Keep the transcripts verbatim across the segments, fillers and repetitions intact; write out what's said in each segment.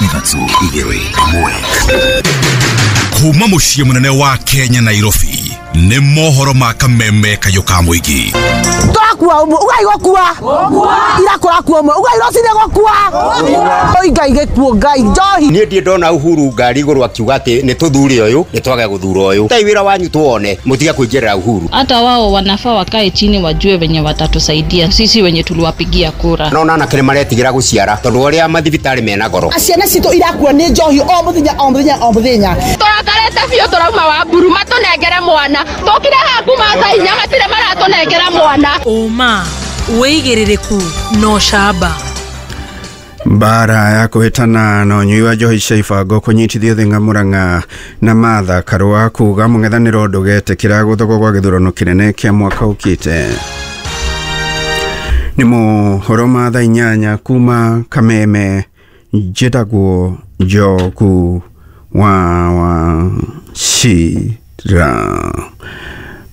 Ithatũ, igĩrĩ, ĩmwe. Kuma mũciĩ mũnene wa Kenya, Nairobi, nĩ mohoro ma Kameme kayũ ka mũingĩ. Tũrakua ũmwe, ugai gũkua ira kũrakua ũmwe, ugai rũcinĩ gũkua. Oi Ngai, gĩkuũ, Ngai, njohi. Niĩ ndirĩ ndona Uhuru ngari igũrũ akiuga atĩ nĩ tũthure ũyũ, nĩ twage gũthura ũyũ. Tai wĩra wanyu tuone mũtige kũingĩrĩra Uhuru. Hata wao wanafaa wakae chini wajue venye watatusaidia sisi wenye tuliwapigia kura. No anake nĩ maretigĩra gũciara tondũ ũrĩa mathibitarĩ mena goro. Ciana citũ irakua nĩ njohi o mũthenya, o mũthenya, o mũthenya. Tũrakarĩte biũ, tũrauma wa mburu matũnengere mwana. Tũkire haha kuma thaa inya, matirĩ maratũnengera mwana. Ũma, wĩigĩrĩrĩku na ũcamba. Mbara ya kũhĩtana na ũnyui wa njohi cia ibango kũnyitithio Thĩng'a Mũrang'a, na Martha Karũa kuga mũng'ethanĩro ndũgetĩkĩra gũthogwo gwa gĩthurano kĩnene kĩa mwaka ũkĩte. Nĩ mohoro ma thaa inyanya kuma Kameme. Njĩtagwo Njoku wa Wachira.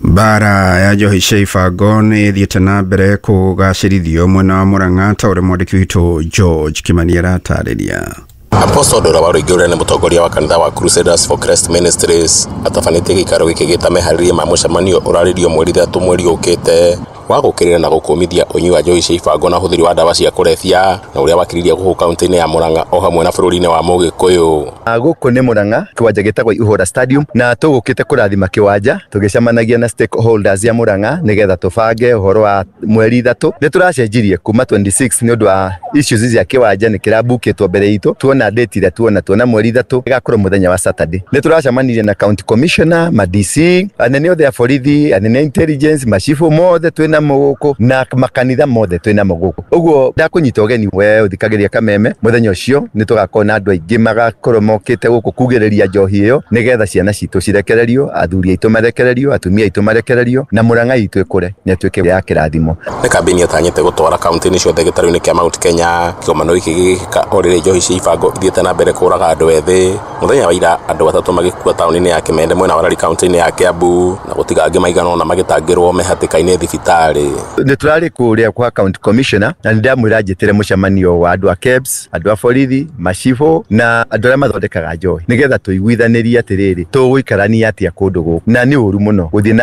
Mbara ya njohi cia ibango nĩ ĩthiĩte na mbere kũgacĩrithio mwena wa Mũrang'a, ta ũrĩa mwandĩki witũ George Kimani aratarĩria. Apostle Ndura wa Rũingĩ, ũrĩa nĩ mũtongoria wa kanitha wa Crusaders for Christ Ministries, atabanĩtie gĩikaro gĩkĩ gĩta meharĩria ma mũcemanio ũrarĩrio mweri ithatũ mweri ũkĩte wa gũkĩrĩra na gũkũmithia ũnyui wa njohi cia ibango na ũhũthĩri wa ndawa cia kũrebia, na ũrĩa wakiririe gũkũ kaunti-inĩ ya Murang'a o hamwe na bũrũri-inĩ wa Mũgĩkũyũ. Gũkũ nĩ Murang'a, kĩwanja gĩtagwo Ihũra Stadium, na tũgũkĩte kũrathima kĩwanja tũgĩcemanagia na stakeholders ya Murang'a nĩgetha tũbange ũhoro wa mweri ithatũ. Nĩ tũracenjirie kuma mĩrongo ĩrĩ na ithatũ nĩ ũndũ wa issues cia kĩwanja nĩ kĩrabukĩtwo mbere itũ. Tuona date ĩrĩa tuona tuona mweri ithatũ ĩgakorwo mũthenya wa Saturday. Nĩ tũracemanirie na county commissioner, ma D C, anene othe a borithi, anene a intelligence, macibu mothe twĩ namo gũkũ na makanitha mothe twĩ namo gũkũ. Ũguo ndakũnyita ũgeni we ũthikagĩria Kameme, mũthenya ũcio nĩ tũgakorwo na andũ aingĩ magakorwo mokĩte gũkũ kugĩrĩria njohi ĩyo nĩgetha ciana citũ cirekererio, athuri aitũ marekererio, atumia aitũ marekererio, na Murang'a itũ ĩkũre na ĩtuĩke ya kĩrathimo. Nĩ kambĩini ĩtanyĩte gũtwara kaunti-inĩ ciothe gĩtarũ-inĩ kĩa Mount Kenya. Kĩgomano gĩkĩ gĩgĩkĩka o rĩrĩa njohi cia ibango ithiĩte na mbere kũraga andũ ethĩ. Mũthenya wa ira andũ atatũ magĩkua taũni-inĩ ya Kimende mwena wa Lari, kaunti-inĩ ya Kiambu, na gũtiga angĩ maigana ũna magĩtangĩrwo me hatĩka-inĩ thibitarĩ. Nĩ tũrarĩ kũrĩa kwa county commissioner na nĩ ndamwĩra njĩtĩre mũcemanio wa andũ a KEBS, andũ a borithi, macibũ na andũ arĩa mathondekaga njohi nĩgetha tũiguithanĩrie atĩrĩrĩ, tũgũikarania atĩa kũndũ gũkũ, na nĩ ũru mũno gũthiĩ na